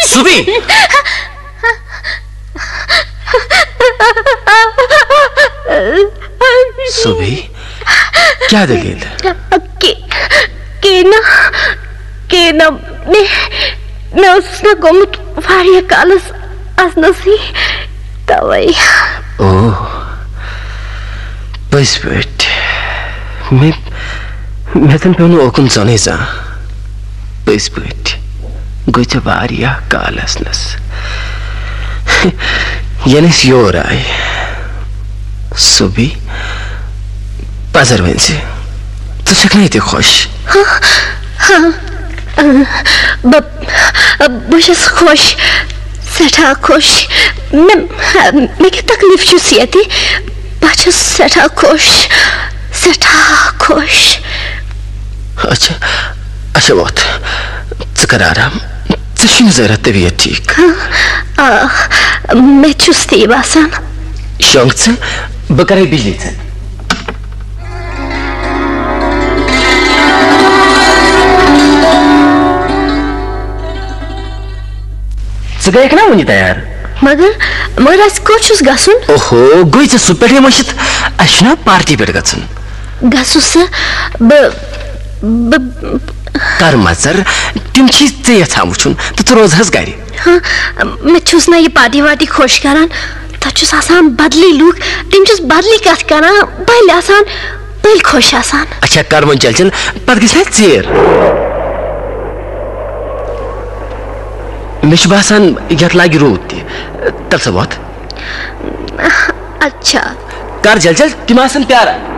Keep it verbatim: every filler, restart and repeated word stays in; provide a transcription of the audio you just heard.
صبی! صبی، کیٛاہ دٔلیٖل؟ کے-، کینا، کینا، مےٚ، مےٚ اوسُس نہ گوٚمُت واریاہ کالس اژنَسٕے، توے۔ او، پٔزۍ پٲٹھۍ۔ مےٚ، مےٚ تَن پیوٚو نہٕ اوکُن زَنٕے زانٛہہ۔ پٔزۍ پٲٹھۍ گوٚو ژےٚ واریاہ کال اژنَس۔ یَنہٕ أسۍ یور آے۔ صبی، پَزر ؤنۍ زِ، ژٕ چھَکھ نہ ییٚتہِ خۄش؟ ہاں، ہاں، اۭں، بہٕ، بہٕ چھَس خۄش، سٮ۪ٹھاہ خۄش۔ مےٚ، مےٚ کیٛاہ تکلیٖف چھُس ییٚتہِ؟ بہٕ چھَس سٮ۪ٹھاہ خۄش، سٮ۪ٹھاہ خۄش۔ اچھا، اچھا، وۄتھ۔ ژٕ کر آرام۔ ژےٚ چھُے نہٕ ذرا طبیعت ٹھیٖک۔ آ، مےٚ چھُس تی باسان۔ شۄنٛگ ژٕ، بہٕ کرے بجلی ژےٚ۔ ژٕ گٔیکھ نا وُنہِ تیار؟ مگر، مگر اَسہِ کوٚت چھُس گژھُن؟ اوہو، گٔے ژےٚ سُہ پٮ۪ٹھے مٔشِتھ؟ اَسہِ چھُنا پارٹی پٮ۪ٹھ گژھُن۔ گژھُس سا بہٕ، بہٕ کر مژر، تِم چھی ژےٚ یژھان وٕچھُن تہٕ ژٕ روزہس گرِ۔ ہاں، مےٚ چھُس نہ یہِ پارٹی وارٹی خۄش کران۔ تَتہِ چھُس آسان بدلی لُکھ، تِم چھُس بدلی کتھ کران، بٔلۍ آسان، بٔلۍ خۄش آسان۔ اچھا، کر وۄنۍ چل چل، پتہٕ گژھِ نہ ژیر۔ مےٚ چھُ باسان، یتھ لاگہِ روٗد تہِ۔ تل سا وۄتھ۔ اچھا۔ کر جل جل، تِم آسن پیاران۔